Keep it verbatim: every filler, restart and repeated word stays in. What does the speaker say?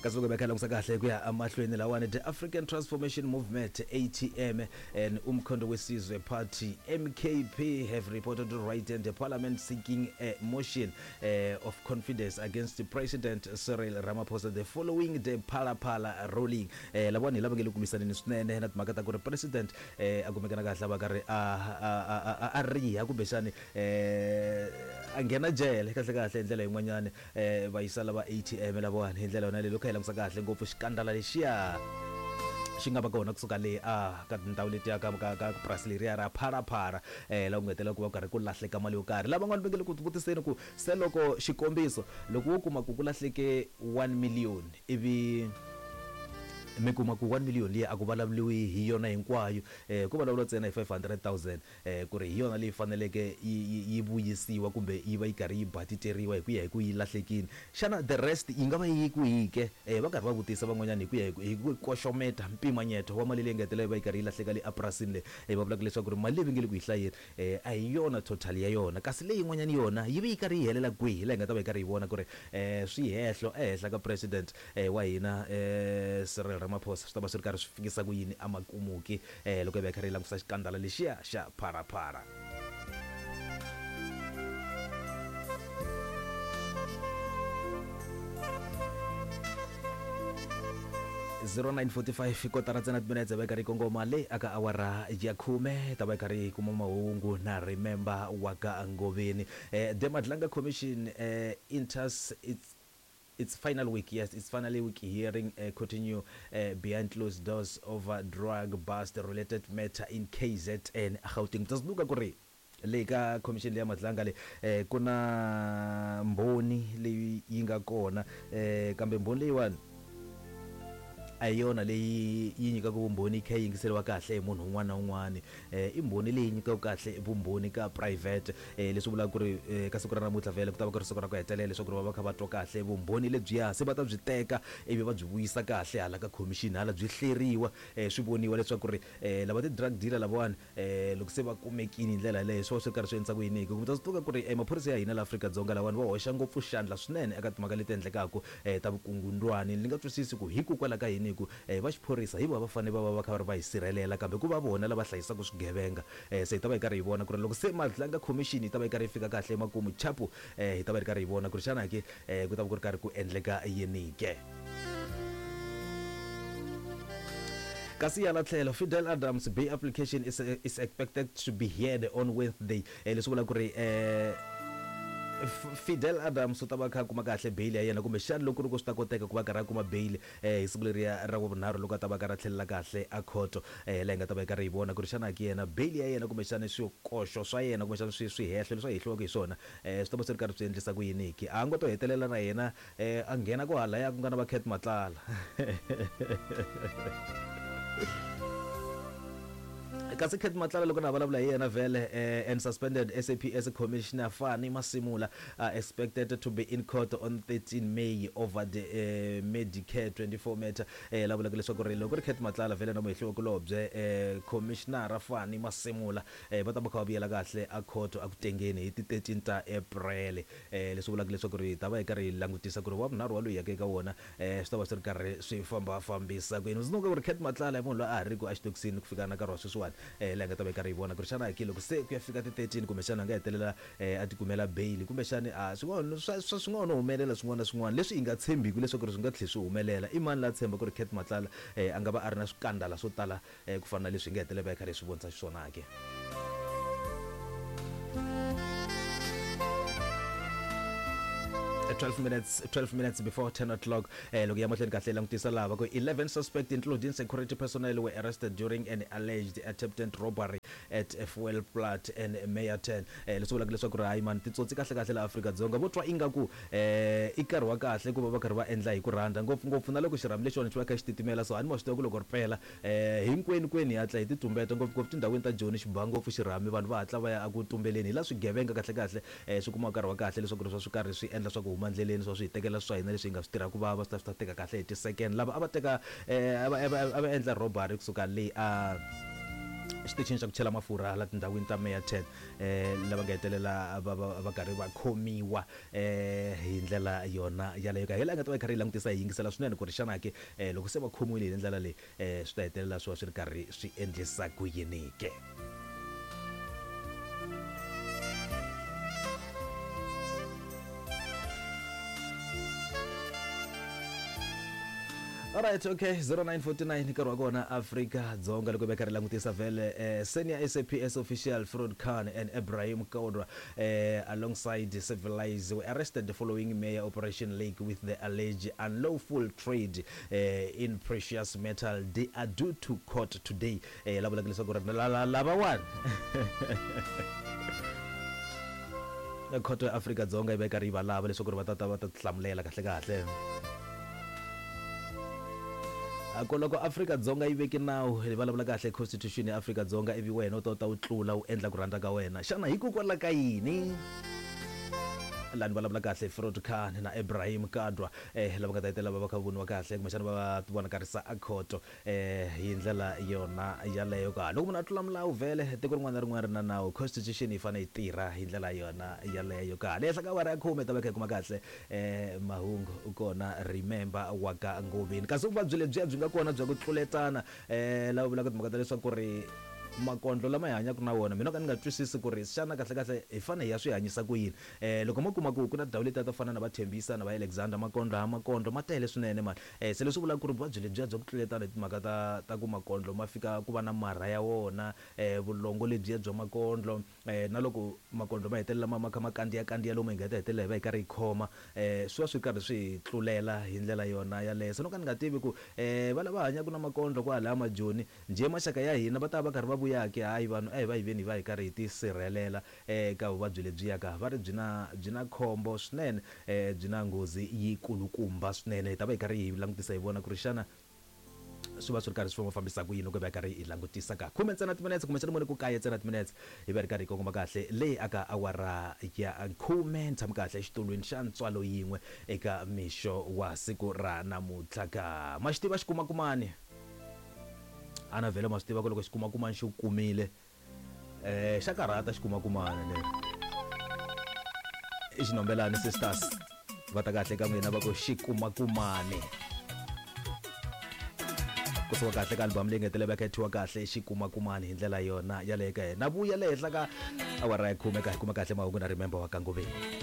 Kasi loko hi kha langusa kahle ku ya emahlweni lawani, the African Transformation Movement, A T M, and Umkhonto weSizwe Party, M K P, have reported right in the parliament seeking a motion uh, of confidence against the President Cyril Ramaphosa the following the Phala Phala ruling. Eh lavani lava nge le ku lwisaneni swinene na timhaka ta ku ri president eh a kumekana kahle va karhi a a a riha kumbexani eh a nghena jele kahle kahle hi ndlela yin'wanyani eh va yisa lava A T M lavawani hi ndlela yona leyi loko hi langusa kahle ngopfu xikandala lexiya xi nga va kona kusuka le a ka tindhawu letiya ka ka ka purasi leriya ra Phala Phala eh la ku ngetela ku va karhi ku lahleka mali yo karhi. Lavan'wana va nge le ku tivutiseni ku se loko xikombiso loko wo kuma ku ku lahleke one million ivi mi kuma ku one million liya a ku vulavuriwi hi yona hinkwayo eh ku vulavuriwa ntsena hi five hundred thousand eh ku ri hi yona leyi faneleke yi yi vuyisiwa kumbe yi va yi karhi yi batiteriwa hi ku ya hi ku yi lahlekile. Xana the rest yi nga va yi kwihi ke? Eh va karhi va vutisa van'wanyana hi ku ya hi ku koxometa mpimanyeto wa mali leyi nga hetelela yi va yi karhi yi lahleka le epurasini leyi. Eh va vulaka leswaku ri mali leyi va nge le ku yi hlayeni eh a hi yona total ya yona, kasi leyin'wanyana yona yi va yi karhi yi helela kwihi? Laha hi nga ta va yi karhi yi vona ku ri eh swihehlo ehenhla ka president eh wa hina eh Cyril Ramaphosa swi ta va swi ri karhi swi fikisa ku yini emakumuki eh loko hi va hi karhi hi langusa xikandala lexiya xa Phala Phala. zero nine forty-five kotara ntsena timinetse va yi karhi yi kongoma le aka awara ya khume ta va yi karhi yi kuma mahungu na Remember wa ka Ngoveni. Eh, the Madlanga Commission eh, enters its It's final week, yes, it's finally week hearing uh, continue uh, behind closed doors over drug bust related matter in K Z N Gauteng. Mutasiluka ku ri le ka commission leya Madlanga le eh, ku na mbhoni leyi yi nga kona eh, kambe mbhoni leyiwani a hi yona leyi yi nyikaka vumbhoni yi kha yi yingiseriwa kahle hi munhu un'wana na un'wana. Eh, i mbhoni leyi nyikaka kahle vumbhoni ka private eh, leswi vulaka ku ri eh, ka siku ra namuntlha vhele ku ta va ku ri siku ra ku hetelela leswaku ri va va kha va twa kahle vumbhoni lebyiya se va ta byi teka ivi va byi vuyisa kahle hala ka commission hala byi hleriwa eh, swi voniwa leswaku ri eh, lava ti-drug dealer lavawani eh, loko se va kumekile hi ndlela yaleyo swi va swi ri karhi swi endlisa ku yini hi ku ta swi tiva ku ri eh, maphorisa ya hina la Afrika-Dzonga lawani va hoxa ngopfu xandla swinene eka timhaka leti endlekaka eh, ta vukungundwani. Ni nga twisisi ku hikokwalaho ka yini ku eh, va xiphorisa hi vona va fanele va va va kha va ri va hi sirhelela kambe ku va vona lava hlayisaka swigevenga. Eh, se hi ta va hi karhi hi vona ku ri loko se Madlanga Commission yi ta va yi karhi yi fika kahle emakumu chapu eh, hi ta va hi karhi hi vona ku ri xana ke eh, ku ta va ku ri karhi ku endleka yini ke. Kasi hala tlhelo Fidel Adams bail application is, is expected to be heard on Wednesday. Eh, leswi vulaka ku ri eh, Fidel Adams u ta va kha kuma kahle bail ya yena kumbe xana loko ku ri ku swi ta koteka ku va karhi a kuma bail eh, hi siku leriya ra vunharhu loko a ta va karhi a tlhelela kahle a khoto eh, laha hi nga ta va hi karhi hi vona ku ri xana ki yena bail ya yena kumbexana swikoxo swa yena kumbexana swi swihehlo leswi a hehliwaka hi swona eh, swi ta va swi ri karhi swi endlisa ku yini ki a ngo to hetelela na yena eh, a nghena ku halaya ku nga na va Cat Matlala. Kasi Cat Matlala loko na vulavula hi yena vhele eh, and suspended S A P S Commissioner Fani Masimula are expected to be in court on thirteen May over the eh, Medicare twenty-four matter. Eh, la vulaka leswaku ri loko ri Cat Matlala vhele na muhehliwa kulobye eh, Commissioner Fani Masimula eh, va ta va kha va vuyela kahle a court a ku tengeni hi ti thirteen ta April. Eh, leswi vulaka leswaku ri ta va hi karhi hi langutisa ku ri wa vunharhu wa loyi yaka eka wona eh, swi ta va swi ri karhi swi fambafambisa ku yini. Ndzi ku ri Cat Matlala i munhu loyi a ha ri ku exitokisini ku fika na nkarhi wa sweswiwani eh, laha hi nga ta va hi karhi hi vona ku ri xana ki loko se ku ya fika ti thirteen kumbexana a nga hetelela eh, a tikumela bail kumbexana a swin'wana swa swa swi nga no humelela swin'wana na swin'wana leswi hi nga tshembiki leswaku ri swi nga tlhela swi humelela. I mani la tshemba ku ri Cat Matlala eh, a nga va a ri na swikandala swo tala eh, ku fana na leswi hi nga hetelela va hi karhi hi swi vonisa xiswona ke. twelve minutes, twelve minutes before ten o'clock. Eh, loko ya mahlweni kahle langutisa lava ku eleven suspects including security personnel were arrested during an alleged attempted robbery at Fuel Plat and Meyerton. Eh, leswi vulaka leswaku ri hayi mani titsotsi kahle kahle la Afrika-Dzonga vo twa ingaku eh, i nkarhi wa kahle ku va va karhi va endla hi ku rhandza ngopfungopfu na loko xirhami lexiwani xi va kha xi titimela so a ni ma swi tiva ku loko ri pela eh, hinkwenu kwenu hi hatla hi titumbeta ngopfungopfu tindhawini ta Joni xi ba ngopfu xirhami vanhu va hatla va ya eku tumbeleni hi la swigevenga kahle kahle eh, swi kuma nkarhi wa kahle leswaku ri swa swi karhi swi endla swa ku huma ndleleni swa swi hi tekela swa hina leswi hi nga swi tirhaka ku vava swi ta swi ta teka kahle hi ti-second. Lava a va teka eh, a va a va a va endla robbery kusuka le a xitichini xa ku chela mafurha la tindhawini ta Meyerton eh lava nga hetelela va va karhi va khomiwa eh hi ndlela yona yaleyo ka hi la nga ta va karhi langutisa hi yingisela swinene ku ri xana ke loko se va khomiwile hi ndlela leyi eh swi ta hetelela swi va swi ri karhi swi endlisa ku yini ke. Alright, okay, zero nine four nine nkarhi wa kona Afrika Dzonga loko va karhi langutisa vhele eh, senior S A P S official Fraud Khan and Ibrahim Kodwa eh, alongside civilized were arrested following Mayor Operation Lake with the alleged unlawful trade eh, in precious metal. They are due to court today. Eh, lava vulaka leswaku ri lava wani khoto ya Afrika Dzonga yi va karhi yi va lava leswaku ri va ta ta va ta tihlamulela kahle kahle. Loko Afrika Dzonga yi veke nawu hi vulavula kahle constitution ya Afrika Dzonga ivi wena u ta ta u tlula u endla ku rhandza ka wena xana hikokwalaho ka yini lani vulavula kahle Fraud Khan na Ibrahim Kadwa eh lava nga ta hetelela va va kha voniwa kahle kumbexana va vonakarisa a khoto eh hi ndlela yona yaleyo ka loko munhu a tlula milawu vhele tiko rin'wana na rin'wana ri na nawu constitution yi fanele yi tirha hi ndlela yona yaleyo ka le henhla ka awara ya khume ta va kha hi kuma kahle eh mahungu kona remember wa ka Ngoveni kasi vuvabyi lebyiya byi nga kona bya ku tluletana eh lava vulaka timhaka ta leswaku ri makondlo lama hi hanyaka na wona mina ka ni nga twisisi ku ri xana kahle kahle hi fanele hi ya swi hanyisa ku yini eh loko mo kuma ku ku na tindhawu letiya to fana na va Thembisa na va Alexander makondlo ha makondlo ma tele swinene mani eh se leswi vulaka ku ri vuvabyi lebyiya bya ku tluletana hi timhaka ta ta ku makondlo ma fika ku va na marha ya wona eh vulongo lebyiya bya makondlo eh na loko makondlo ma hetelela ma ma kha ma kandziya kandziya lomu hi nga ta hetelela hi va hi karhi hi khoma eh swi va swi karhi swi hi tlulela hi ndlela yona yaleyo se no ka ni nga tivi ku eh va lava hanyaka na makondlo kwalaya majoni njhe maxaka ya hina va ta va karhi va vuyake hayi vanhu a hi va hi veni hi va hi karhi hi tisirhelela eka vuvabyi lebyiya ka va ri byi na byi na khombo swinene eh byi na nghozi yikulukumba swinene hi ta va hi karhi hi langutisa hi vona ku ri xana swi va swi ri karhi swi fambisa ku yini loko hi va karhi hi langutisa ka khume ntsena timinetse kumbexana mune ku kaye ntsena timinetse hi va ri karhi hi kongoma kahle leyi aka awara ya khume ni tshami kahle exitulwini xa ntswalo yin'we eka mixo wa siku ra namuntlha ka ma xi tiva xikumakumani ana vhele ma swi tiva ku loko xikumakumani xi kumile eh xa karhata xikumakumani leri i xinombelani sisters va ta kahle ka n'wina va ku xikumakumani kusuka kahle ka album leyi nga hetelela va khethiwa kahle xikumakumani hi ndlela yona yaleyo ka na vuya le henhla ka awara ya khume ka hi kuma kahle mahungu na remember wa ka Ngoveni.